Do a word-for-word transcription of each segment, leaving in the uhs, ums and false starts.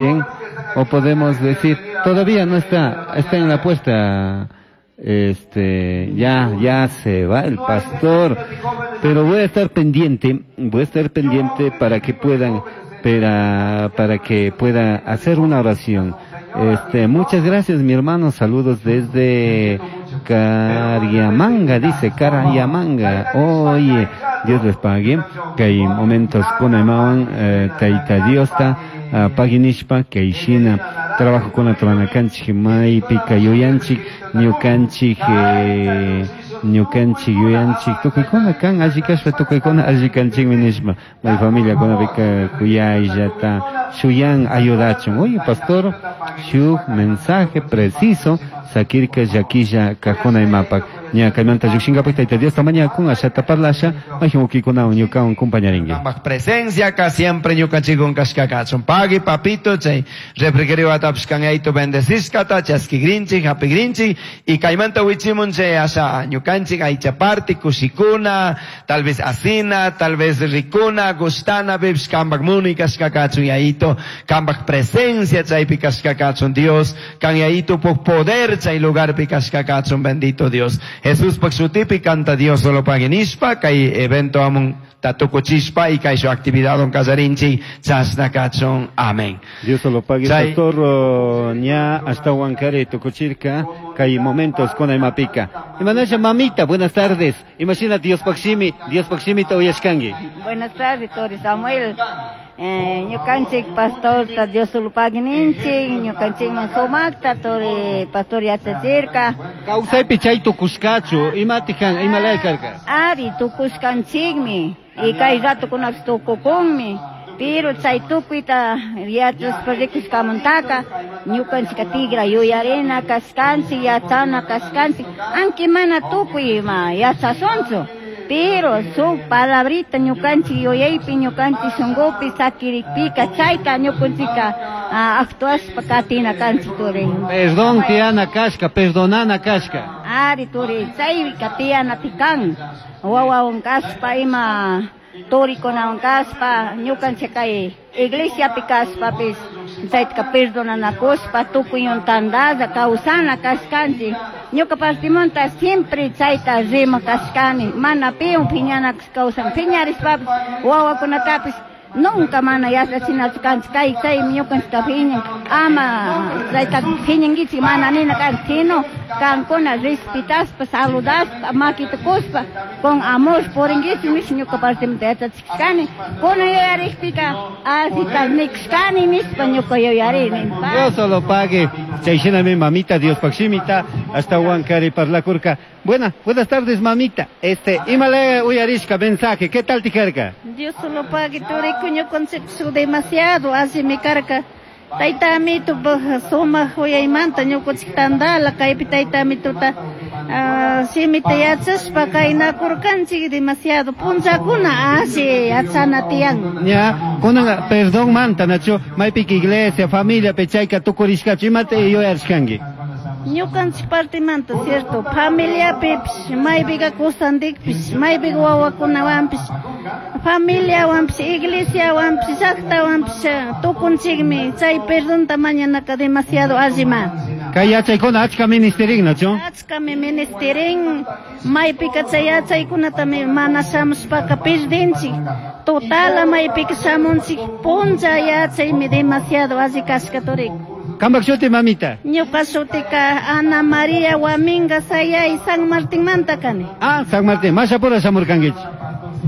Bien, o podemos decir, todavía no está, está en la puerta, este, ya, ya se va el pastor, pero voy a estar pendiente, voy a estar pendiente para que puedan, para, para que pueda hacer una oración. Este, muchas gracias, mi hermano, saludos desde Cariamanga, dice Cariamanga. Oye, Dios les pague, que hay momentos con Aymawan, eh, Taita Diosta, uh, paginishpa, kay shina trabajo con la kanchik, maypika yuyanchik, ñukanchik, eh, ñukanchik yuyanchik, tukuykuna kan alli kashpa tukuykuna alli kanchikmi nishpa, may familia kunapika kuyayllata shuyan ayudachun. Oye, pastor, shuk mensaje preciso sakirka llakilla kajuna imapak. Ña kaymanta llukshinkapak Tayta Diosta mañakun ashata parlasha, mayjin ukikunawan ñukawan compañarinki. Presencia acá siempre ñukanchikun kashkakachun. Pagui papito chay refrigerio atapish kan yayito bendecishkata chaskigrinchik hapigrinchik y kaymanta wichimun chay asha ñukanchik aycha parti kushikuna, tal vez asina, tal vez rikuna, gustana pipish kambak muni kashkakachun yayito, kambak presencia chaypi kashkakachun Dios, kan yayito puk poder chay lugarpi kashkakachun bendito Dios. Jesús pak shutipi kanta Dios solo paginishpa kay evento amun tatukuchishpa y kay shu actividad on kallarinchik chashna kachun. Amén. Dios solo pague. Chay. Pastor, uh, ña hasta Huancaré tukuchirka kay momentos con imapika. Imanasha mamita, buenas tardes. Imagina Dios pakshimi, Dios pakshimi ta uyashkangi. Buenas tardes, Tori Samuel. Eh, ñukanchik pastor ta Dios solo pague ninchik, ñukanchikman sumakta Tori pastor yachachirka. Kawsaypi chay tukushkachu, imatijan, imalaya karka. Ari tukushkanchikmi, y kay ratukunapish tukukunmi. Pero chay tukuyta yachashpa rikushkamantaka ñukanchika tigra yuyarina kashkanchik, yachana kashkanchik, aunque mana tukuy ima yachashunchu. Pero su palabrita ñukanchik yuyaypi, ñukanchik shunkupi sakirikpika chayta ñukanchika, ah, actuashpa katina kanchik turi. Perdón tiyana kashka, perdonana kashka. Ari turi, chayka tiyana tikan. Wawawan kashpa ima turikunawan kashpa, ñukanchik kay iglesiapi kashpapis chayta perdonanakushpa tukuyun tandalla kawsana kashkanchik. Ñuka partimanta siempre chayta rima kashkani, mana piwan phiñanakush kawsan, phiñarishpapis wawakunatapis nunca mana yachachinachu kanchik, kay chaymi ñukanchikta phiñan, ama chayta phiñankichik mana nina kanchik, sino kankuna respetashpa, saludashpa, makita kushpa, con amor purinkichik nish ñuka partimanta yachachishkani. Kunan yuyarikpika allita nikushkani nishpa ñuka yuyarini. Dios solo pague. Chay shinami mamita, Dios pakshimita, hasta Huancari parlakurka. Buena, buenas tardes mamita. Este, imale uyarishka mensaje, ¿qué tal tijarka? Dios solo pague, turiku ñukanchik demasiado allimi karka. Tayta amito sumaq uyaymanta ñukanchik tandala kaypi tayta amituta, ah, shimita yachashpa kaynakurkanchik demasiado punllakuna alli yachana tiyan. Ña, kunan perdón manta nacho, maypika iglesia, familia pechayka tukurishkachu, imata yuyarishkanki? Ñukanchik partimanta, cierto, familiapipish, maypika kusandikpish, maypika wawakunawanpish, familiawanpish, iglesiawanpish, llaqtawanpish, tukunchikmi, chay perdonta mañanaka demasiado allima. Kay yachaykuna achka ministerin, nacho? Achkami ministerin, maypika chay yachaykunatami mana shamushpaka perdinchik, totala maypika shamunchik, punlla yachaymi demasiado alli kashka turiku. Kambak shuti mamita. Ñuka shutika Ana María Huaminga Sayay San Martín manta kani. Ah, San Martín, mashapura shamurkankichik.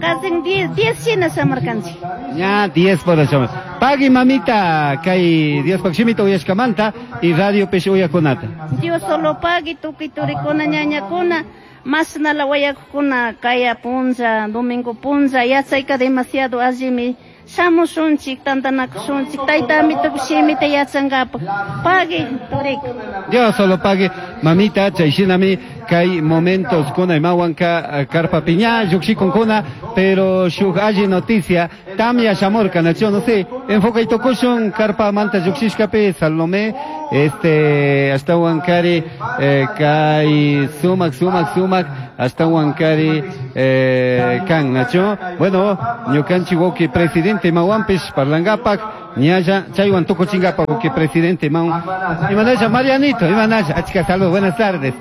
Casi diez, diez shina shamurkanchik. Ña, diez por shamur. Pagui mamita, kay Dios pakshimita uyashkamanta y radio pish uyakunata. Dios solo pagui tukuy turikuna ñañakuna, mashnala wayakuna kaya punlla, domingo punlla, yachayka demasiado allimi. Shamushunchik, tantanakushunchik, tayta amitupish shimita yachankapak. Pagui, turiku. Dios solo pague, mamita, chay shinami, kay momentos kuna imawanka karpa piña, lluqshikunkuna, pero shuk alli noticia, tamya shamurka, nacho, no sé, enfoca y tokushun, karpa manta lluqshishkapi, Salomé, este, hasta Huancari, eh, kay sumak, sumak, sumak, Ashtahuankari eh, kan nacho. Bueno, ñukanchik wawqi presidente mawanpish parlangapak ñalla chaywan tukuchingapak wawqi presidente mawan. Imanasha Marianito, imanasha, achka salud, buenas tardes.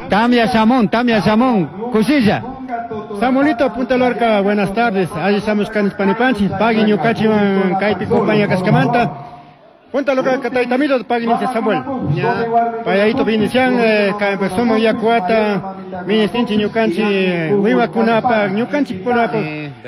Tamia Shamón, Tamia Shamón, kushilla. Samuelito Punta Lorca, buenas tardes. Allí estamos Panipanchi, pagui ñukanchikwan kaypi compañía kaskamanta. Punta Lorca taytamito pagui ninchik Samuel. Payayito binician kaypi sumaq yakuata ministinchik ñukanchik wiwakunapaq ñukanchikkunapaq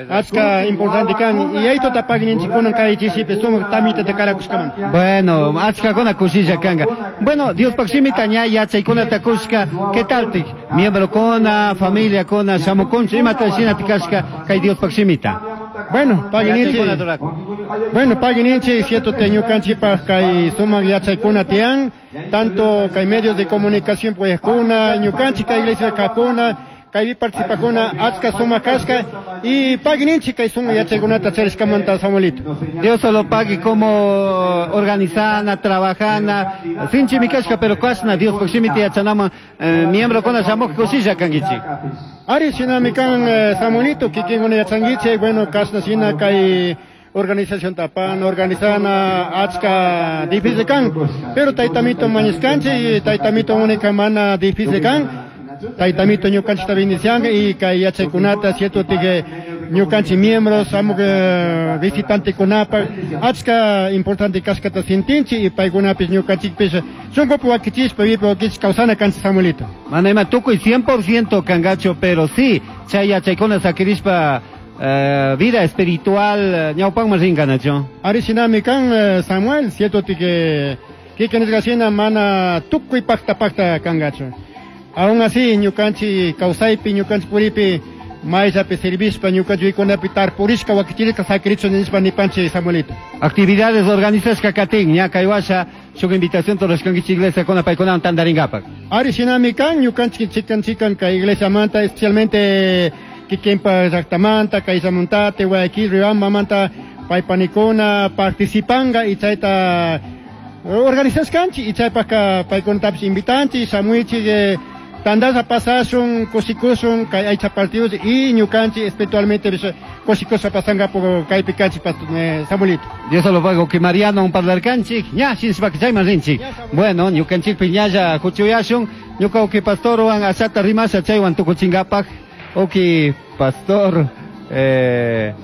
achka importante kan y aytota pagui ninchik kunan kay chisipi sumaq tamitata karakushkamanta. Bueno, achkakuna kushilla kanka. Bueno, Diospaq shimita ña yachaykunata kushka, ¿qué tal tik? Miembrokuna, familiakuna, shamukunchik, imata shinati kashka kay Diospaq shimita. Bueno, pagui ninchik. Bueno, pagui ninchik, cierto te ñukanchikpaq kay sumaq yachaykuna tiyan, tanto kay medios de comunicación pues kuna, ñukanchik kay iglesia kakuna, kaypi participakuna achka sumaq kashka y pagui ninchik kay sumaq yachaykunata charishkamanta Samuelito. Dios solo pague como organizana, trabajana, sinchimi kashka, pero kashna Diospaq shimita yachanaman eh, miembrokuna shamuq kushilla kankichik. Ari shinami kan eh, Samuelito, kikinkuna yachankichik, bueno, kashna shina kay organización tapan, organizana achka difícil kan, pero taytamito mañiskanchik y taytamito única mana difícil kan, taytamito ñukanchikta bendicianga y kay yachaykunata cierto tige ñukanchik miembros, shamuq eh, visitantekunapak achka importante kashkata sintinchik y paykunapis ñukanchikpis shunkupi wakichishpa vipi wakichishpa kawsana kanchik Samuelito. Mana ima tukuy cien por ciento kangacho, pero sí, chay yachaykuna sakirishpa eh, vida espiritual ñawpanman rinka nacho. Ari shinami kan eh, Samuel, cierto tige kikin nisqa shina mana tukuy pakta pakta kangacho. Aún así ñukanchik kawsaypi ñukanchik puripi mayllapi servishpa ñukanchik wikunapi tarpurishka wakichirishka sakirichu nishpa nipanchik Samuelito. Actividades organizashka katin ña kay washa shuk invitación rurashkankichik iglesia kuna paykunawan tantarinkapak. Ari shinami kan ñukanchik chikan chikan kay iglesiamanta especialmente kikinpa llaqtamanta kay Samontate, Guayaquil, Riobambamanta paypanikuna participanga y chayta organizashkanchik y chaypaqqa paykunatapis invitanchik shamuichik eh, tandasha pasashun kushikushun kay aycha partidos y ñukanchik espiritualmente kushikushpa pasankapak kaypi kanchik eh, Samuelito. Dios lo pago que Mariano un parlarkanchik ña shinshpaka chayman rinchik. Bueno, ñukanchikpi ñalla huchuyashun ñuka uki pastorwan ashata rimasha chaywan tukuchinkapak uki pastor eh,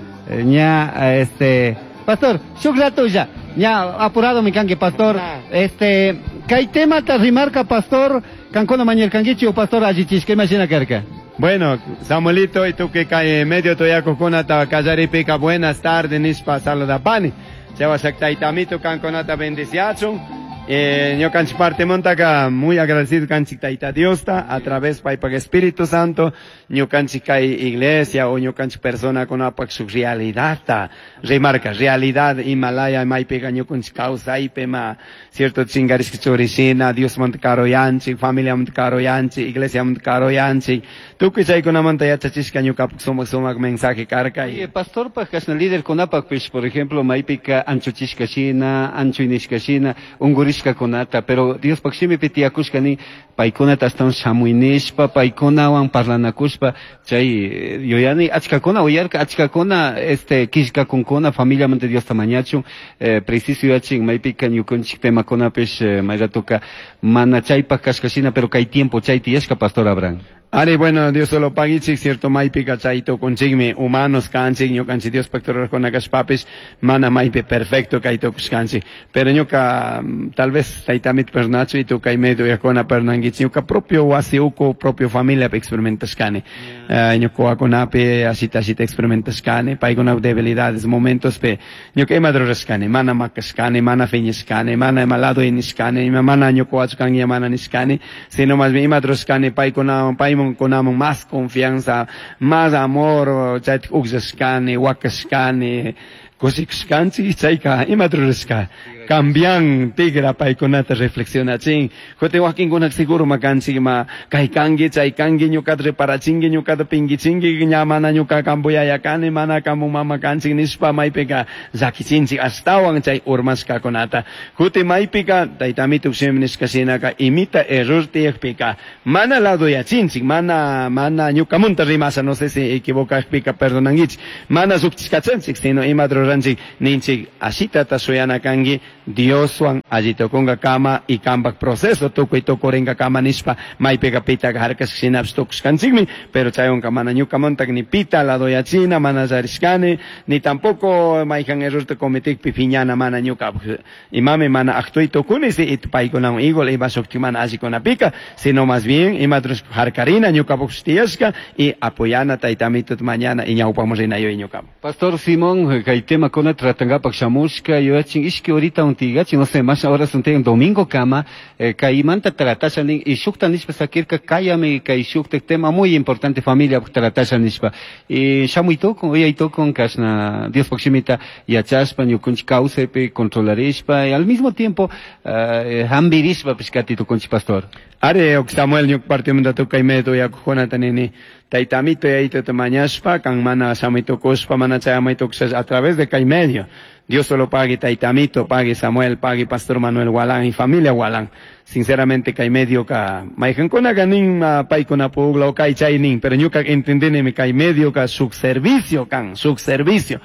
ña este pastor shuk ratulla ña apurado mi kanki pastor este kay temata rimarka pastor kankuna mañarkankichik o pastor allichishka imashina karka. Bueno, Samuelito, y tú que cae medio toyakukunata kallaripika buenas tardes nishpa saludapani. Chawashak taytamito kankunata bendiciachun. Eh, ñukanchik parte montaka muy agradecido kanchik tayta Diosta a través paypak Espíritu Santo ñukanchik kay iglesia o ñukanchik persona kunapak shuk realidadta rimarka realidad Himalaya maypiqa ñukanchik kawsaypi ma cierto chingarishka churishina Diosmanta karuyanchik familiamanta karuyanchik iglesiamanta karuyanchik tukuy chaykunamanta yachachishka ñukapak sumak sumak mensaje karka. Y pastorpak kashna líder kunapakpish por ejemplo maypika anchuchishka shina anchuynishka shina unkurishka kunata, pero Diospaq shimipi tiyakushka ni paykunata ashtawan shamuynishpa paykunawan parlanakushpa chay yuyani achkakuna uyarka achkakuna este killkakunkuna familiamanta Diosta mañachun eh, preciso yuyachin maypika ñukanchik temakunapish eh, mayratuka mana chaypaq kashka shina pero kay tiempo chay tiyashka pastor Abraham. Ari, bueno, Dios solo pagichik, cierto, maypika chayto kunchikmi, humanos kanchik, ñukanchik Diospaq rurajkuna kashpapis, mana maypi perfecto kaytukushkanchik. Pero ñuka, tal vez taytamit pernachu y tu kay medio yakuna pernankichik, ñuka propio wasi uku, propio familia experimentashkani. Yeah. Uh, ñuka wakunapi, ashita ashita experimentashkani, paykuna debilidades, momentos pe, ñuka ima rurashkani, mana makashkani, mana fiñashkani, mana ima lado nishkani, mana ñuka wachukanki mana nishkani, sino más bien ima rurashkani, paykuna, paymun kunamon más confianza, más amor, chaytik ukllashkani, wakashkani, kushikushkanchik, chayka ima rurashka. Cambian tigra paykunata reflexionachin. Jote wakinkuna seguro makanchik ma kay kanki chay kanki ñuqata reparachinki ñuqata pinkichinki ña mana ñuqa kampu yaya kani mana kampu mama kanchik nishpa maypika llakichinchik ashtawan chay urmashkakunata. Juti maypika taytamituk shimi nishka shinaka imita error tiyakpika mana laduyachinchik mana mana ñuqamunta rimasha no sé si equivocakpika perdonankichik mana sukchishkachanchik sino imata ruranchik ninchik ashitata shuyana kanki Dioswan allitukunka kama y kampak proceso tukuy tukurinka kama nishpa maypika pitaka harkashka shinapish tukushkanchikmi pero chaywanka mana ñukamuntak ni pita laduyachina mana llarishkani ni tampoco mayjan errorta cometikpi piñana mana ñukapak imami mana actuy tukuni si paykunawan igual ima shuktik mana allikunapika sino más bien imata rushpa harkarina ñukapak tiyashka y apoyana taytamitut mañana y ñawpamun rina yuyay ñukapak. Pastor Simón, kay temakuna tratankapak shamushka yuyachin ishki horita untigachi, no sé, más horas untigan domingo kama, eh, kaymanta tratasha nin, y shukta nishpa sakirka kayami kay shukta tema muy importante familia tratasha nishpa. Y shamuy tukun, uyay tukun, kashna Diospak shimita yachashpa, ñukunchik kawsaypi controlarishpa, y al mismo tiempo eh, hambirishpa pishkati tukunchik pastor. Are, ok Samuel ñuk partimanta tukay medio yakukunata nini taytamito yayituta mañashpa, kan mana shamuy tukushpa, mana chayamuy tukushpa a través de kay medio. Dios solo pague taytamito, pague Samuel, pague Pastor Manuel Gualán y familia Gualán. Sinceramente kay medio ka mayjankuna ka nin paykuna pugla o kay chay nin, pero ñuka entendinimi kay medio ka shuk servicio kan, shuk servicio.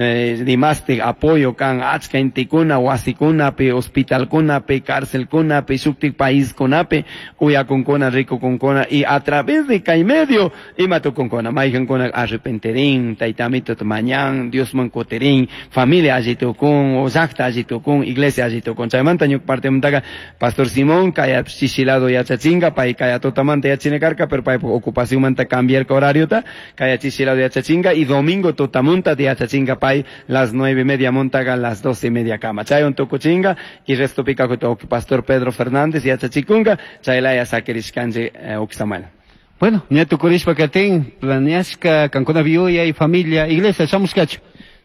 Eh, dimastik apoyo kan achka intikuna wasikunapi hospitalkunapi cárcelkunapi shuktik paiskunapi uyakunkuna rikukunkuna y a través de kay medio ima tukunkuna mayjankuna arrepenterin taytamito mañan Diosman kutirin familia alli tukun o llaqta alli tukun iglesia alli tukun chaymanta ñuka partimantaka Pastor Simón kaya chishi lado yachachinka pay kaya tutamanta yachina karka pero paypuk ocupacionmanta cambiarka horariota kaya chishi lado yachachinka y domingo tutamunta yachachinka pay las nueve y media montaga las doce y media kama chaywan tukuchinka y resto pika Pastor Pedro Fernández yachachikunka chaylaya sakirishkanchik eh, Samuel. Bueno, ña tukurishpa katin planeashka kankuna viuya y familia iglesia shamushkachu.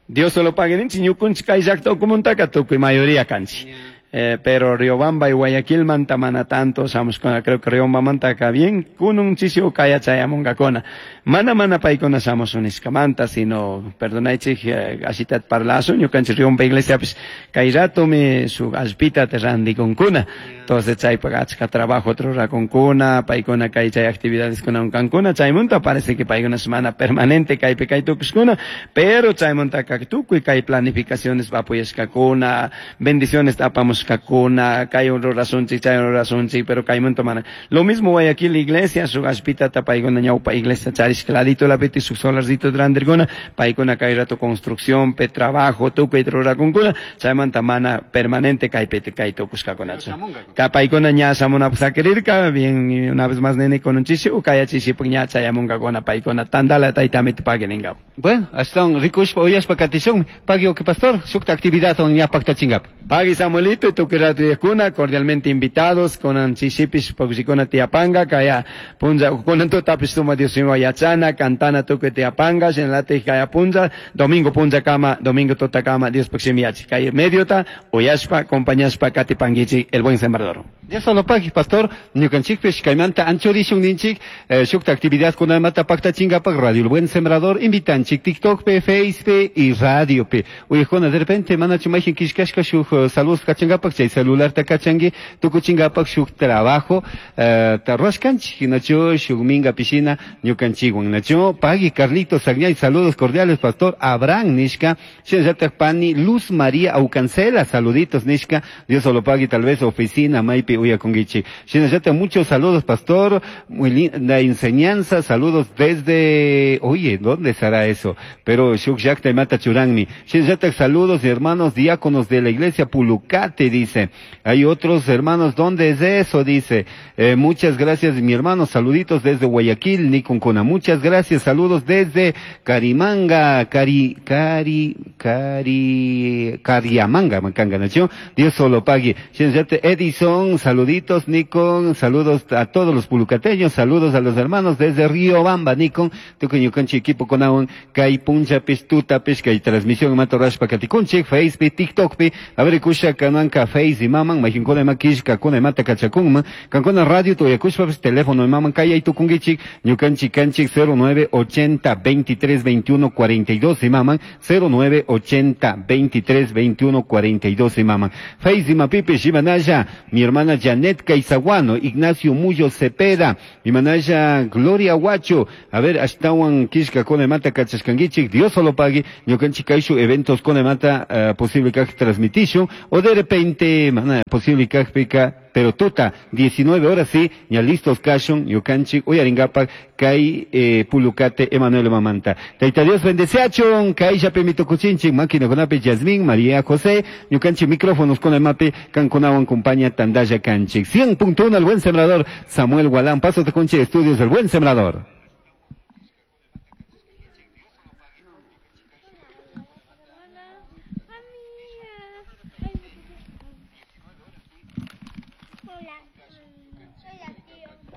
Dios solo pague ninchik ñukunchik kay llaqta ukumantaka tukuy mayoría kanchik. Eh, pero Riobamba y Guayaquil manta mana tanto shamushkuna creo que Riobamba mantaka bien kunun chishi kaya chayamunkakuna mana mana paykuna shamushun nishkamanta sino perdonaychik eh, ashitat parlashun ñukanchik Riobamba iglesia pis kay ratomi shuk allpita randikunkuna entonces chaypak achka trabajo rurakunkuna paykuna kay chay actividades kunawan kankuna chaymunta parece que paykuna mana permanente kaypi kay tukushkuna pero chaymuntaka tukuy kay planificaciones apoyashkakuna bendiciones apamushkakuna kakuna, kay rurasunchik, chay rurasunchik, pero kaymunta mana. Lo mismo Guayaquil iglesia, shuk allpitata paykuna ñawpa iglesia charishka ladito lapiti shuk solarcito randirkuna, paykuna kay rato construcción, pe trabajo, tukuy rurakunkuna, chaymanta mana permanente kaypi kay tukushkakunachu. Ka paykuna ña shamunapuk sakirirka, bien una vez más nene con un chishi, ukaya chishipuk ña chayamunkakuna paykuna tantala taytamito pagui ninkapu. Bueno, ashtawan rikushpa uyashpa katishunmi, pagui uki pastor, shukta actividad ña paktachinkapu. Pagui Samuelito y tukuy rato yakuna, cordialmente invitados, kunan chishipish pukshikuna tiyapanga, kaya punlla, kunan tutapis suma Dios mío yachana, cantana tukuy tiyapanga, shinalati kaya punlla, domingo punlla kama, domingo tuta kama, Dios pukshimi yachi, kay mediota, uyashpa, acompañashpa, katipanguichi, el buen sembrador. Dios solo pagui, pastor, ñukanchikpish kaymanta anchurishun ninchik, eh, shukta actividad kunamanta paktachinkapak, Radio El Buen Sembrador, invitanchik, TikTok pe, Face pe y Radio pe. Uyajuna, de repente, manachu mayjin kishkashka shuk saludos kachankapak, chay celular ta kachanki, tukuchinkapak shuk trabajo, eh, tarruashkanchik, nachu, shuk minga pishina, ñukanchikwan, nachu, pagui, Carlitos Sagñay, saludos cordiales, pastor Abraham nishka, shinallatak pani, Luz María Aucancela, saluditos nishka, Dios solo pagui, tal vez oficina, maypi uyakunkichik. Shinallatak muchos saludos, pastor, muy linda enseñanza, saludos desde, oye, ¿dónde será eso? Pero shuk llaqta imata churanmi. Shinallatak saludos, hermanos diáconos de la iglesia Pulucate, Pulucate, dice. Hay otros hermanos, ¿dónde es eso? Dice. Eh, muchas gracias, mi hermano, saluditos desde Guayaquil, Niconcona. Muchas gracias, saludos desde Carimanga, Cari, Cari, Cari, Cariamanga, Macanga, nación. Dios solo pague. Edison, saluditos, Nikon, saludos a todos los pulucateños, saludos a los hermanos desde Río Bamba, Nikon, tukuñukanchi equipo konawan, kay punchapis, tutapis, kay transmisión matorashpa katikunchik, Facebook, TikTok pi, a ver, kusha kananka Face imaman, majinkuna ima kishka kuna imata kachakunman, kankuna radio tuyakushpapis, teléfono imaman, kay tukungichik, ñukanchik kanchik cero nueve ochenta veintitrés veintiuno cuarenta y dos imaman, cero nueve ochenta veintitrés veintiuno cuarenta y dos imaman. Face imapipi, Shimanaya, mi hermana Janet Caizaguano, Ignacio Muyo Cepeda, Imanaya Gloria Huacho, a ver, ashtawan kishka kona imata kachashkangichik, Dios solo pague, ñukanchik kayshu eventos kona imata uh, posible kaj transmitisho, o de repente, mana, posible kaj pika, pero tuta, diecinueve horas sí, ya listos kashun, ñukanchik, uyaringapak, kay eh, Pulucate, Emanuel Mamanta. Taita Dios bendeceachun, kay yapemitukuchinchik, máquina konapi, Yasmín, María José, ñukanchik micrófonos con el mape, kankunawan compañía Tandaya Kanchik. cien punto uno, el buen sembrador, Samuel Gualán, paso de Conche Estudios, el buen sembrador.